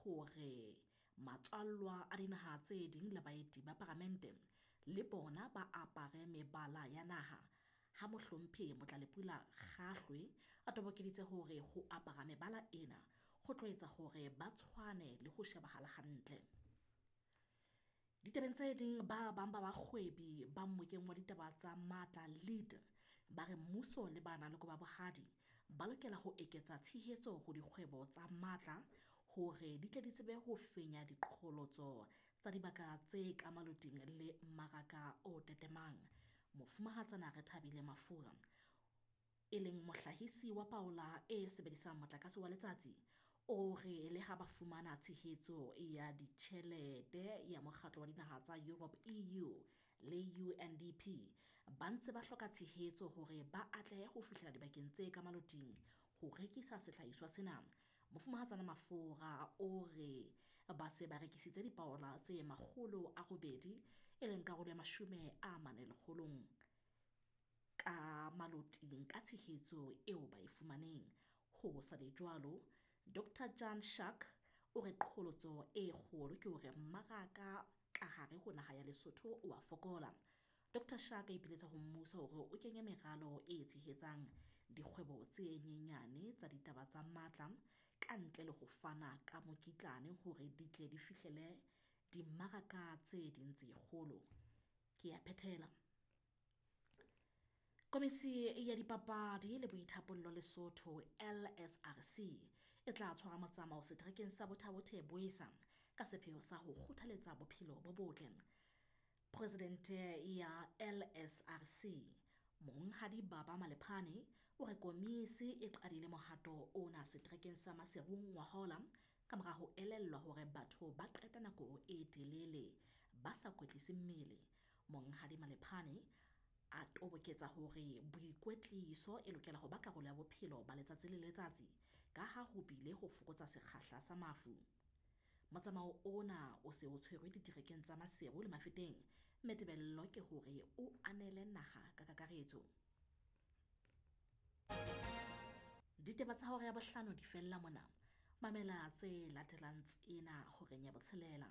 hore matswallwa a dinaha tse ding le baeti ba paramente le bona ba apare mebala ya naha, ha Mohlomphehi Motlalepula Kgaahlwe a tobokeditse hore ho apara mebala ena ho tlo etsa hore ba tshwane le ho shebahala hantle. Ditabeng tse ding, ba bang ba bahwebi ba mmokeng wa ditaba tsa matla lead ba re mmuso le ba nang le kobo ya bohadi ba lokela ho eketsa tshehetso ho dikgwebo tsa matla hore di tle di tsebe ho fenya diqholotso tsa dibaka tse ka maloting le mmaraka o tetemang. Mofumahatsana Rethabile Mafura, e leng mohlahisi wa paola e sebedisang motlakase wa letsatsi, o re le ha ba fumana tshehetso ya ditjhelete ya Mokgatlo wa Dinaha tsa Europe EU le UNDP, ba ntse ba hloka tshehetso hore ba atlehe ho fihlela dibakeng tse ka maloting ho rekisa sehlahiswa sena. Mofumahatsana Mafura o re ba se ba rekisitse dipaola tse 800, e leng karolo ya 40 lekgolong ka maloting ka tshehetso eo ba e fumaneng. Ho sa le jwalo, Dr Jan Schuck o re qholotso e kgolo ke hore mmaraka ka hare ho naha ya Lesotho o a fokola. Dr Schuck a ipiletsa ho mmuso hore o kenye meralo e tshehetsang dikgwebo tse nyenyane tsa ditaba tsa matla ka ntle le ho fana ka mokitlane hore di tle di fihlele dimmaraka tse ding tse kgolo. Ke a phethela. Komisi ya Dipapadi le Boithapollo Lesotho LSRC e tla tshwara motsamao seterekeng sa Botha-Bothe Boesa ka sepheo sa ho kgothaletsa bophelo bo botle. Presidente ya LSRC Monghadi Baba Malephane o re komisi e qadile mohato ona seterekeng sa Maseru ngwahola ka mora ho elellwa hore batho ba qeta nako e telele ba sa kwetlise mmele. Monghadi Malephane a toboketsa hore boikwetliso e lokela ho ba karolo ya bophelo ba letsatsi le letsatsi ka ha ho bile ho fokotsa sekgahla sa mafu. Motsamao ona o se o tshwerwe diterekeng tsa Maseru le Mafeteng, mme tebello ke hore o anele naha ka kakaretso. Ditaba tsa hora ya bohlano di fella mona. Mamela tse latelang tsena horeng ya botshelela.